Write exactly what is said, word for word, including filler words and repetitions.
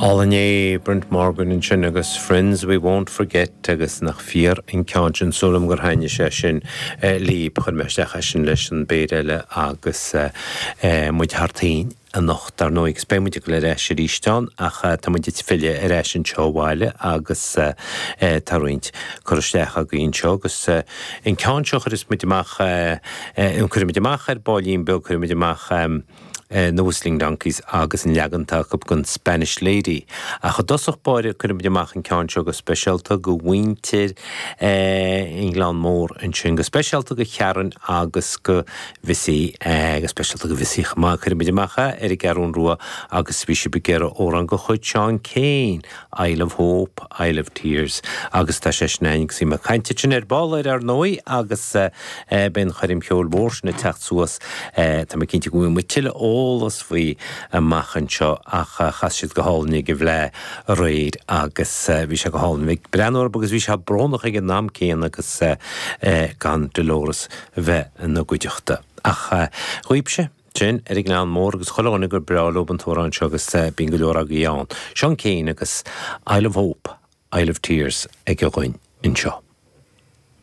Álainn é Brent Morgan ansin agus Friends We Won't Forget agus nach fíor an ceann sin súil agam gur thaitnigh sé sin libh chuir mé isteach é sin leis an bpéire eile agus muid thar toinn anocht dar ndóigh agus beidh muid ag dul ar ais arís ann ach tá muid ag filleadh ar ais anseo abhaile agus tá roinnt cur isteach againn anseo agus an ceann seo chuireas muid amach cuirfidh muid amach ar baillín beag cuirfidh muid amach na Whistling Donkeys agus an leagan atá acu den Spanish Lady. Ach i dtosach báire cuirfidh muid amach an ceann seo go speisialta go mhuintir an Ghleann Mór ansin go speisialta go Sharon agus go Mhissy go speisialta go Mhissy chomh maith cuirfidh muid amach é ar an gCeathrú Rua agus bhí sibh ag iarraidh amhrán de chuid Seán Keane, Isle of Hope, Isle of Tears agus tá sé sin agus bhí mé ag caint sin ar ball ar ar ndóigh agus beidh an choirm cheoil mhór sin ag teacht suas tá mé cinnte go bhfuil muid tuilleadh eolas faoi amach anseo ach chas siad go hálainn ag an bhFleadh aréir agus bhí sé go hálainn bheith ag breathnú orthu agus bhí sé brónach ag an am céanna agus gan Dolores bheith ina gcuideachta. Ach dhaoibhse sin ar an nGleann Mór agus chuile dhuine gur breá leo an t-amhrán seo agus bíonn go leor agaí ann. Seán Keane agus Isle of Hope, Isle of Tears ag a dhuine anseo.